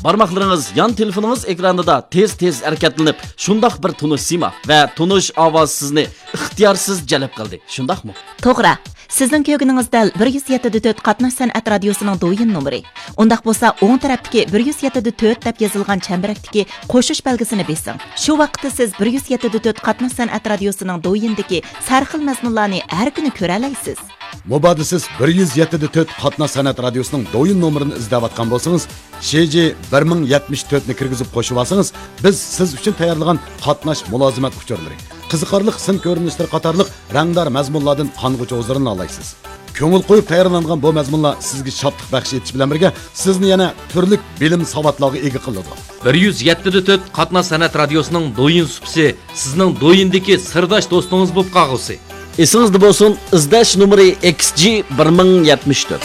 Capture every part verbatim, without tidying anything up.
بارماقلىرىڭىز يان تېلېفونىڭىز ئېكرانىدا تېز-تېز ھەرىكەتلىنىپ، شۇنداق بىر تونۇش سىيما ۋە تونۇش ئاۋاز سىزنى ئىختىيارسىز جەلپ قىلدى، شۇنداقمۇ؟ توغرا. سىزنىڭ كۆرگىنىڭىز دەل بىر يۈز يەتتە دە تۆت قاتناش سەنئەت رادىيوسىنىڭ دويىن نومۇرى. ئۇنداق بولسا، ئوڭ تەرەپتىكى بىر يۈز يەتتە دە تۆت دەپ يېزىلغان چەمبىرەكتىكى قوشۇش بەلگىسىنى بېسىڭ. شۇ ۋاقىتتا سىز بىر يۈز يەتتە دە تۆت قاتناش سەنئەت رادىيوسىنىڭ دويىنىدىكى سەرخىل مەزمۇنلارنى ھەر كۈنى كۆرەلەيسىز. مۇبادا سىز بىر يۈز يەتتە دە تۆت قاتناش سەنئەت رادىيوسىنىڭ دويىن نومۇرىنى ئىزدەۋاتقان بولسىڭىز، شى جى بىر مىڭ يەتمىش تۆتنى كىرگۈزۈپ قوشۇۋالسىڭىز، بىز سىز ئۈچۈن تەييارلىغان قاتناش مۇلازىمەت ئۇچۇرلىرى، قىزىقارلىق سىن كۆرۈنۈشلىرى قاتارلىق رەڭدار مەزمۇنلاردىن قانغۇچە ھۇزۇرلىنالايسىز. كۆڭۈل قويۇپ تەييارلانغان بۇ مەزمۇنلار سىزگە شادلىق بەخش ئېتىش بىلەن بىرگە، سىزنى يەنە تۈرلۈك بىلىم ساۋاتلارغا ئىگە قىلىدۇ. بىر يۈز يەتتە دە تۆت قاتناش سەنئەت رادىيوسىنىڭ دويىن سۇپىسى سىزنىڭ دويىندىكى سىرداش دوستىڭىز بولۇپ قالغۇسى. ئېسىڭىزدە بولسۇن، ئىزدەش نومۇرى ئېكس جى بىر مىڭ يەتمىش تۆت.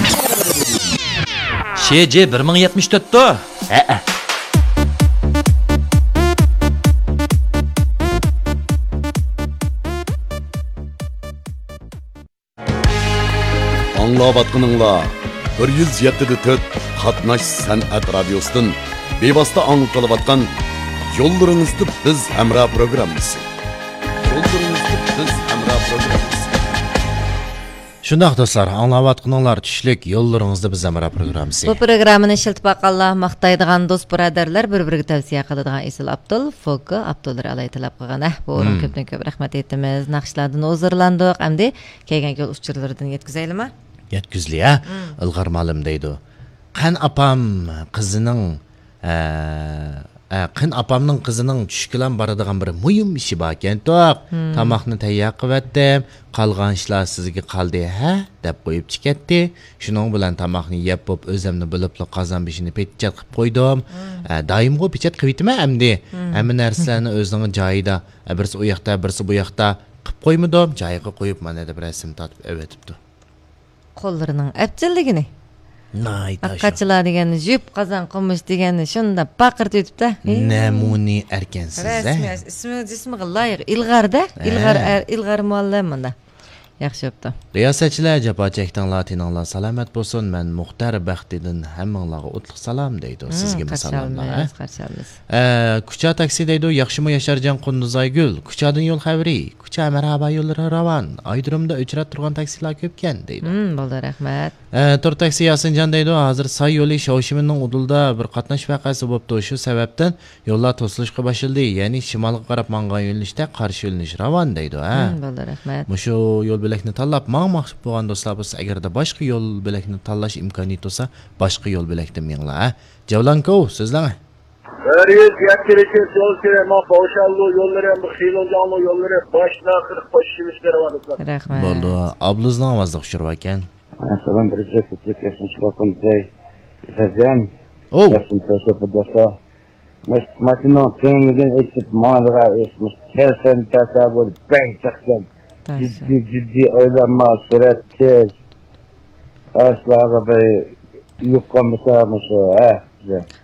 شى جى بىر مىڭ يەتمىش تۆتتۇ؟ ھەئە. ئاڭلاۋاتقىنىڭلار بىر يۈز يەتتە دە تۆت قاتناش سەنئەت رادىيوسىدىن بىۋاسىتە ئاڭلىتىلىۋاتقان يوللىرىڭىزدا بىز ھەمراھ پروگراممىسى. يوللىرىڭىزدا بىز ھەمراھ پروگراممىسى. شۇنداق دوستلار، ئاڭلاۋاتقىنىڭلار چۈشلۈك يوللىرىڭىزدا بىز ھەمراھ پروگراممىسى. بۇ پروگراممىنى ئىشلىتىپ باققانلار ماختايدىغان دوست بۇرادەرلەر بىر-بىرىگە تەۋسىيە قىلىدىغان ئېسىل ئابدۇل، فوگگا ئابدۇللا ئالاي تەلەپ قىلغان. ئە، بۇ ئورۇن مم. كۆپتىن كۆپ رەھمەت ئېيتىمىز. ناخشىلاردىن ھۇزۇرلاندۇق. ئەمدى كەلگەن گۈل ئۇچۇرلىرىدىن يەتكۈزەيلىما؟ يەتكۈزلى، ھە؟ مم. ئىلغار مالىم دەيدۇ. قەن ئاپام قىزىنىڭ، ئە، ئە، قېن ئاپامنىڭ قىزىنىڭ چۈشكىلام بارىدىغان بىر مۇھىم ئىشى باركەنتۇق. مم. تاماقنى تەييار قىلىۋەتتىم. قالغان ئىشلار سىزگە قالدى، ھە؟ دەپ قويۇپ چىكەتتى. شۇنىڭ بىلەن تاماقنى يەپ بوپ، ئۆزەمنى بولۇپلا قازان بېشىنى پېتىچات قىلىپ قويدۇم. مم. ئە، دائىمغۇ پېچەت قىلىۋېتىمەن ئەمدى. مم. ھەممە نەرسىلەرنى ئۆزىنىڭ جايىدا، ئە، بىرسى ئۇ ياقتا، بىرسى بۇ ياقتا قىلىپ قويمىدۇم. جايىغا قويۇپ، مانا دەپ رەسىم تارتىپ ئەۋەتىپتۇ. قوللىرىنىڭ ئەپچىللىكىنى. ناھايىتى ئاشۇ. قاچىلار دېگەننى، يۇپ قازان قومۇش دېگەننى شۇنداق پاقىرىتىۋېتىپتۇ. ھېي. نەمۇنە ئەركەنسىز، ھە؟ رەسمىي ئىسمى، جىسمىغا لايىق. ئىلغار-دە. ھە. ئىلغار ئەر، ئىلغار مۇئەللىم مۇنداق. ياخشى بوپتۇ. رىياسەتچىلەر، جاپا چەكتىڭلار، تېنىڭلار سالامەت بولسۇن. مەن مۇختەر بەختىدىن ھەممىڭلارغا ئوتلۇق سالام دەيدۇ. مم، سىزگىمۇ قارشى سالاملار، ھە؟ ئالىمىز، قارشى ئالىمىز. ئە، كۇچا تاكسى دەيدۇ، ياخشىمۇ ياشارجان قۇندۇزايگۈل؟ كۇچادىن يول خەۋىرى. كۇچا مەرھابا يوللىرى راۋان. ئايرودرومدا ئۆچرەپ تۇرغان تاكسىلار كۆپكەن دەيدۇ. مم، بولدى، رەھمەت. ئە، تور تاكسى ياسىنجان دەيدۇ، ھازىر ساي يولى شاۋشىمىننىڭ ئۇدۇلىدا بىر قاتناش ۋەقەسى بوپتۇ. شۇ سەۋەبتىن يوللار توسۇلۇشقا باشلىدى. يەنى شىمالغا قاراپ ماڭغان يۆنىلىشتە قارشى يۆنىلىش راۋان دەيدۇ، ھە؟ مم، بولدى، رەھمەت. مۇشۇ يول بۆلەكنى تاللاپ ماڭماقچى بولغان دوستلار بولسا، ئەگەردە باشقا يول بۆلەكنى تاللاش ئىمكانىيىتى بولسا، باشقا يول بۆلەكتىن مېڭىڭلار، ھە؟ جاۋلانكوۋ، سۆزلەڭ. بىر يۈز يەتتە يول كېرەك، مانا پاۋشانلۇ يوللىرى، ھەم خىلوجياڭلۇ يوللىرى باشتىن ئاخىرى قوشۇشۇۋېلىشكە راۋان دوستلار. رەھمەت. بولدى. ئابلىزنىڭ ئاۋازلىق ئۇچۇرى باركەن. ئەسسالام، بىر يۈز يەتتە يول كېرەك، مۇشۇ باققان بىزەي. سەزەن. ئوۋ. ياخشىمۇ، سەزەن، بىر دوستلار. مۇشۇ ماشىنىنىڭ تۈڭىگىدىن ئېچىپ ماڭىدىغان ئىش، مۇشۇ كەلسەم، كەلسە بولدى، بەك جىقكەن. جىددىي، جىددىي ئويلانما، سۈرئەت تېز. ئاشۇلارغا بىر يۇققان بولسا مۇشۇ، ھە، بىزە.